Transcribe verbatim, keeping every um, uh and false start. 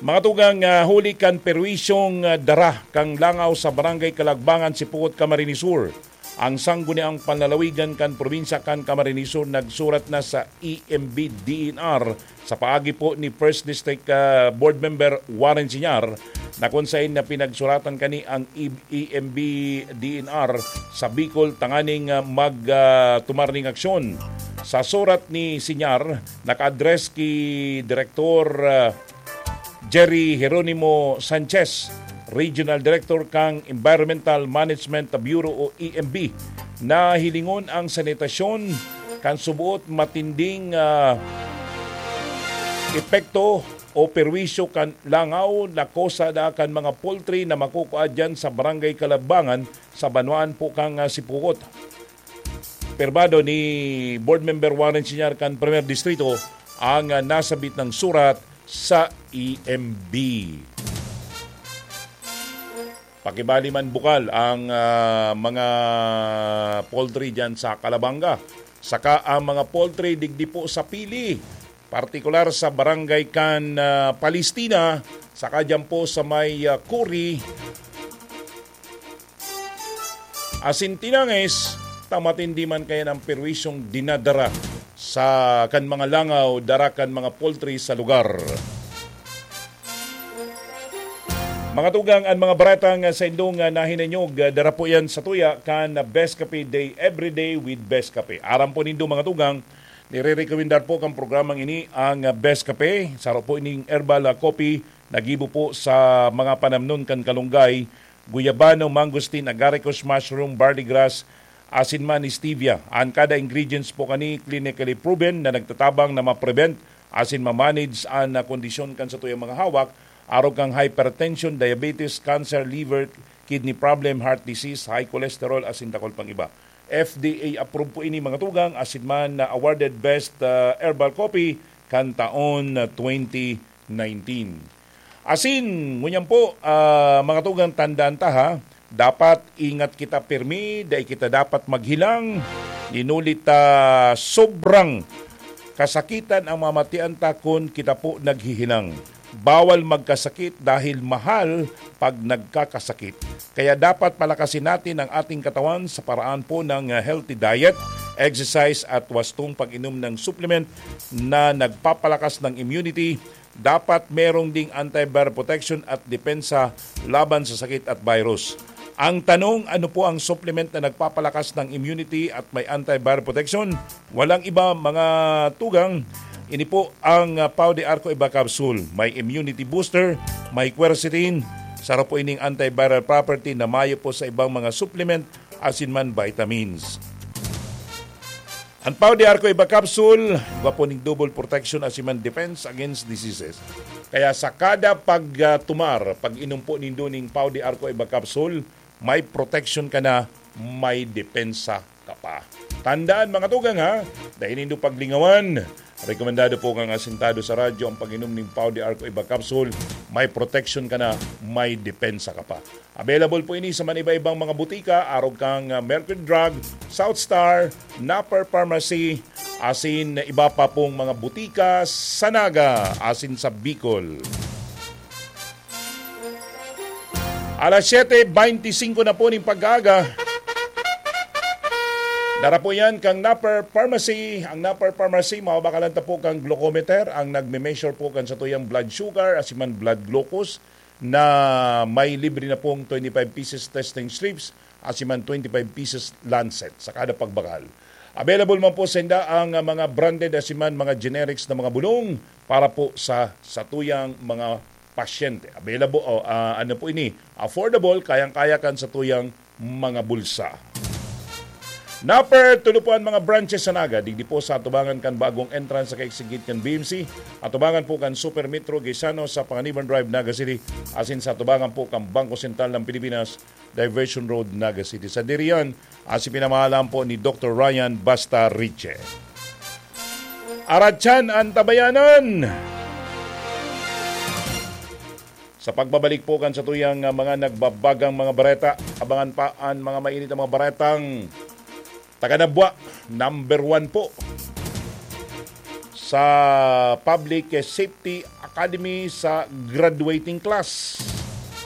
Mga tugang, ah, huli kan perwisyong, ah, dara kan langaw sa Barangay Kalagbangan, Sipocot, Camarines Sur, ang Sangguniang Panlalawigan kan Probinsya kan Camarines Sur nagsurat na sa E M B D E N R sa paagi po ni First District, ah, Board Member Warren Sinyar, na kung sain na pinagsuratan kani ang E-, E M B D E N R sa Bicol tanganing, ah, mag, ah, tumar ning aksyon. Sa surat ni Sinyar, naka-address ki Direktor, ah, Jerry Jeronimo Sanchez, Regional Director kan Environmental Management Bureau o E M B, na hilingon ang sanitasyon kan suboot matinding, ah, epekto o perwisyo kan langaw na kosa na kan mga poultry na makukua diyan sa Barangay Kalagbangan sa banwaan po kan, ah, Sipocot. Pirmado ni Board Member Warren Sinyar kan Primer Distrito ang, ah, nasabit na surat sa E M B. Pakibali man bukal ang, ah, mga poultry diyan sa Calabanga. Saka ang mga poultry digdi po sa Pili, partikular sa barangay kan, ah, Palestina, saka diyan po sa may, ah, Kuri, asin Tinanges, ta matindi man kaya ang perwisyong dinadara sa kan mga langaw, dara kan mga poultry sa lugar. Mga tugang, ang mga baretang sa indong, ah, nahinanyog, ah, dara po yan sa tuya kan Best Cafe Day, Everyday with Best Cafe. Aram po nindo, mga tugang, nire-recommendar po kan programang ini ang, ah, Best Cafe. Saro po ining herbal, ah, coffee, nagibo po sa mga panamnon kan kalunggay, guyabano, mangosteen, agaricus, mushroom, barley grass, asin man stevia. An kada ingredients po kani clinically proven na nagtatabang na ma-prevent asin ma-manage an, ah, kondisyon kan satuyang mga hawak, arog kan hypertension, diabetes, cancer, liver, kidney problem, heart disease, high cholesterol, asin dakul pang iba. F D A approved po ini, mga tugang, asin man na awarded best, ah, herbal coffee kan taon na twenty nineteen. Asin, ngunyan po, ah, mga tugang, tandaan ta, ha, dapat ingat kita pirmi, dai kita dapat maghilang, inulit ta sobrang kasakitan ang mamatian ta kun kita po naghihilang. Bawal magkasakit dahil mahal pag nagkakasakit. Kaya dapat palakasin natin ang ating katawan sa paraan po ng, ah, healthy diet, exercise at wastong pag-inom ng supplement na nagpapalakas ng immunity. Dapat merong ding antiviral protection at depensa laban sa sakit at virus. Ang tanong, ano po ang supplement na nagpapalakas ng immunity at may antiviral protection? Walang iba, mga tugang, ini po ang, ah, Pau de Arco Iba Capsule. May immunity booster, may quercetin, saro po ining antiviral property na mayo po sa ibang mga supplement, asin man vitamins. Ang Pau de Arco Iba Capsule, igwa po ning double protection asin man defense against diseases. Kaya sa kada pag, ah, tumar, pag-inom po nindo ning Pau de Arco Iba Capsule, may protection ka na, may depensa ka pa. Tandaan, mga tugang, ha, dai nindo paglingawan. Rekomendado po kan asintado sa radyo ang pag-inom ning Pau de Arco Iba Capsule. May protection ka na, may depensa ka pa. Available po ini sa maniba-ibang mga butika, arog kan, ah, Mercury Drug, South Star, Napper Pharmacy, asin iba pa pong mga butika sa Naga, asin sa Bicol. Alas siyete beintisinko na po ning pag-aaga. Dara po yan kang Napper Pharmacy. Ang Napper Pharmacy, mababakalan ta po kang glucometer, ang nagme-measure po kan satuyang blood sugar, asin man blood glucose, na may libre na pong twenty-five pieces testing strips, asin man twenty-five pieces lancet sa kada pagbakal. Available man po sa inda ang, ah, mga branded asin man mga generics na mga bulong para po sa satuyang mga pasyente. Available, o, ah, ano po ini, affordable, kayang-kaya kan satuyang mga bulsa. Napper, tulo po ang mga branches sa Naga. Digdi po sa atubangan kan bagong entrance sa kaigsigit kan B M C. Atubangan po kan Super Metro Gaisano sa Panganiban Drive, Naga City. Asin sa atubangan po kan Bangko Sentral ng Pilipinas, Diversion Road, Naga City. Sa Dirian, asin pinamahalaan po ni Doktor Ryan Basta Riche. Aratsan an tabayanan! Sa pagbabalik po kan satuyang, ah, mga nagbabagang mga bareta, abangan pa an mga mainit na mga baretang taga Nabua, number one po. sa Public Safety Academy sa graduating class.